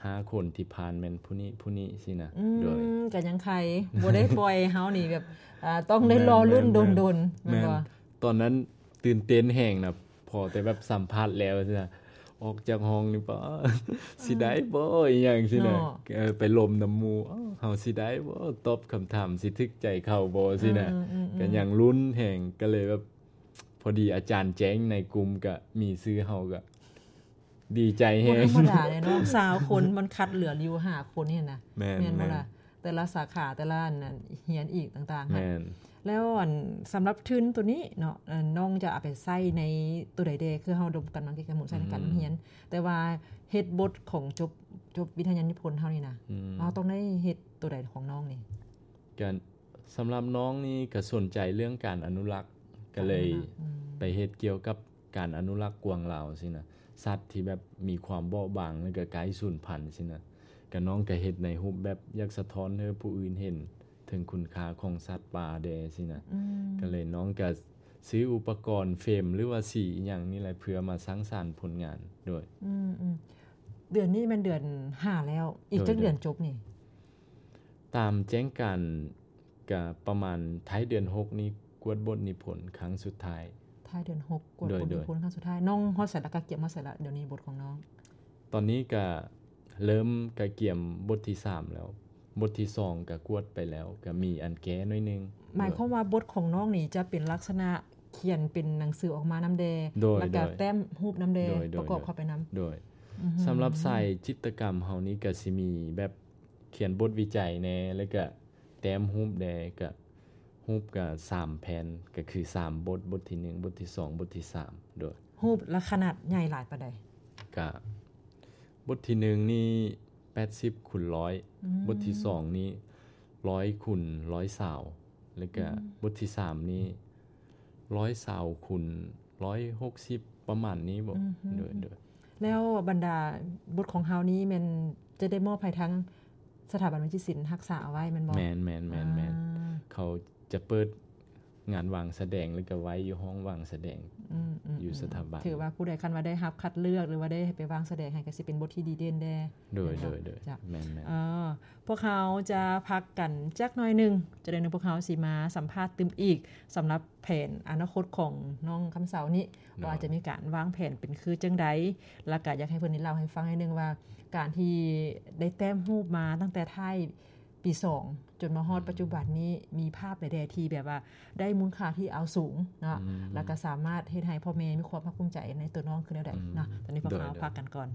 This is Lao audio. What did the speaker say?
ຫ້າຄົນທີ່ຜ່ານແມ່ນຜູ້ນີ້ຜູ້ນີ້ຊີ້ນະ. ອືມ ໂດຍ ກໍຍັງໄຄ ບໍ່ໄດ້ປ່ອຍເຮົານີ້ແບບ ອ່າ ຕ້ອງໄດ້ລໍລຸ້ນດົນໆ ແມ່ນບໍ່? ຕອນນັ້ນຕື່ນເຕັ້ນແຮງນະ ພໍແຕ່ແບບສຳພາດແລ້ວຊີ້ນະ ອອກຈາກຫ້ອງນີ້ ປາ ຊິໄດ້ບໍ່ ອີ່ຫຍັງຊີ້ນະ ເນາະ ເອີ ໄປລົມນຳໝູ່ ເຮົາຊິໄດ້ບໍ່ ຕອບຄຳຖາມຊິຖືກໃຈເຂົາບໍ່ຊີ້ນະ. ອືມໆໆ ກໍຍັງລຸ້ນແຮງ ກໍເລີຍແບບ ພໍດີອາຈານແຈ້ງໃນກຸ່ມ ກໍມີຊື່ເຮົາ ກໍດີໃຈແຮງ. ບໍ່ທຳມະດາເດ້ເນາະ ຊາວຄົນ ມັນຄັດເລືອກຢູ່ຫ້າຄົນນີ້ນະ. ແມ່ນ ແມ່ນບໍ່ລະ? ແມ່ນ ແຕ່ລະສາຂາ ແຕ່ລະອັນນັ້ນ ຮຽນອີກຕ່າງໆ ແມ່ນ. ແລ້ວອັນ ສຳລັບທຶນໂຕນີ້ເນາະ ເອີ ນ້ອງຈະເອົາໄປໃຊ້ໃນໂຕໃດແດ່? ຄືເຮົາດົມກັນມາ ກິດຈະກຳໃຊ້ໃນການຮຽນ ອືມ ແຕ່ວ່າເຮັດບົດຂອງຈົບ ຈົບວິທະຍານິພົນເຮົານີ້ນະ ອືມ ເຮົາຕ້ອງໄດ້ເຮັດໂຕໃດຂອງນ້ອງນີ້? ກະ ສຳລັບນ້ອງນີ້ກໍສົນໃຈເລື່ອງການອະນຸລັກ ກໍເລີຍ ອະນຸລັກ ອືມ ໄປເຮັດກ່ຽວກັບການອະນຸລັກກວາງລາວຊີ້ນະ ສັດທີ່ແບບມີຄວາມເບາະບາງ ແລ້ວກໍໃກ້ສູນພັນຊີ້ນະ. ກໍນ້ອງກໍເຮັດໃນຮູບແບບຢາກສະທ້ອນໃຫ້ຜູ້ອື່ນເຫັນເຖິງຄຸນຄ່າຂອງສັດປ່າແດ່ຊີ້ນະ. ອືມ ກໍເລີຍນ້ອງກໍຊື້ອຸປະກອນເຟມ ຫຼືວ່າສີອີ່ຫຍັງນີ້ແຫຼະ ເພື່ອມາສ້າງສານຜົນງານໂດຍ. ອືມໆ ເດືອນນີ້ແມ່ນເດືອນຫ້າແລ້ວ ອີກຈັກເດືອນຈົບນີ້? ຕາມແຈ້ງການກະປະມານທ້າຍເດືອນຫົກນີ້ ກວດບົດນິພົນຄັ້ງສຸດທ້າຍ. ທ້າຍເດືອນຫົກ ກວດບົດນິພົນຄັ້ງສຸດທ້າຍ. ໂດຍ ໂດຍ. ນ້ອງຮອດໃສລະ? ກະກຽມຮອດໃສລະ ດຽວນີ້ບົດຂອງນ້ອງ? ຕອນນີ້ກະເລີ່ມກະກຽມບົດທີສາມແລ້ວ ບົດທີສອງກະກວດໄປແລ້ວ ກະມີອັນແກ້ໜ້ອຍໜຶ່ງ. ໝາຍຄວາມວ່າບົດຂອງນ້ອງນີ້ຈະເປັນລັກສະນະຂຽນເປັນໜັງສືອອກມານຳແດ່ ໂດຍ ແລ້ວກະ ໂດຍ ແຕ້ມຮູບນຳແດ່ ໂດຍ ໂດຍ ປະກອບເຂົ້າໄປນຳ. ໂດຍ ອືຮຶ ສຳລັບສາຍຈິດຕະກຳເຮົານີ້ກະຊິມີແບບ ຂຽນບົດວິໄຈແດ່ ແລ້ວກະແຕ້ມຮູບແດ່ ກະຮູບກະສາມແຜ່ນ ກະຄືສາມບົດ ບົດທີໜຶ່ງ ບົດທີສອງ ບົດທີສາມ. ໂດຍ. ຮູບລະຂະໜາດໃຫຍ່ຫຼາຍປານໃດ? ກະບົດທີໜຶ່ງນີ້ແປດສິບຄູນຮ້ອຍ ອືມ ບົດທີສອງນີ້ຮ້ອຍຄູນຮ້ອຍຊາວ ແລ້ວກະ ອືມ ບົດທີສາມນີ້ຮ້ອຍຊາວຄູນຮ້ອຍຫົກສິບ ປະມານນີ້ບໍ? ອືຮຶ ໂດຍ ໂດຍ. ແລ້ວບັນດາບົດຂອງເຮົານີ້ແມ່ນຈະໄດ້ມອບໃຫ້ທາງສະຖາບັນວິຈິດສິນຮັກສາເອົາໄວ້ແມ່ນບໍ່? ແມ່ນໆໆໆ ອ່າ ເຂົາຈະເປີດງານວາງສະແດງ ແລ້ວກໍໄວ້ຢູ່ຫ້ອງວາງສະແດງ ອືມໆໆ ຢູ່ສະຖາບັນ. ຖືວ່າຜູ້ໃດຄັນວ່າໄດ້ຮັບຄັດເລືອກ ຫຼືວ່າໄດ້ໄປວາງສະແດງໃຫ້ ກໍຊິເປັນບົດທີ່ດີເດັ່ນແດ່. ໂດຍ ແມ່ນບໍ່? ໂດຍ ໂດຍ. ເຈົ້າ ແມ່ນໆ. ເອີ ພວກເຮົາຈະພັກກັນຈັກໜ້ອຍໜຶ່ງ ຈັກໜ້ອຍໜຶ່ງພວກເຮົາຊິມາສຳພາດຕື່ມອີກ ສຳລັບແຜນອະນາຄົດຂອງນ້ອງຄຳເຊົານີ້ ໂດຍ ວ່າຈະມີການວາງແຜນເປັນຄືຈັ່ງໃດ ແລ້ວກະຢາກໃຫ້ເພິ່ນໄດ້ເລົ່າໃຫ້ຟັງໜ້ອຍໜຶ່ງວ່າ ການທີ່ໄດ້ແຕ້ມຮູບມາຕັ້ງແຕ່ທ້າຍປີສອງ ຈົນມາຮອດ ອືມ ປັດຈຸບັນນີ້ ມີພາບໃດແດ່ທີ່ແບບວ່າໄດ້ມູນຄ່າທີ່ເອົາສູງເນາະ ອືມ ແລ້ວກະສາມາດເຮັດໃຫ້ພໍ່ແມ່ມີຄວາມພາກພູມໃຈໃນຕົວນ້ອງຄືແນວໃດ ອືມ ເນາະ. ຕອນນີ້ພວກເຮົາ ໂດຍ ພັກກັນກ່ອນ.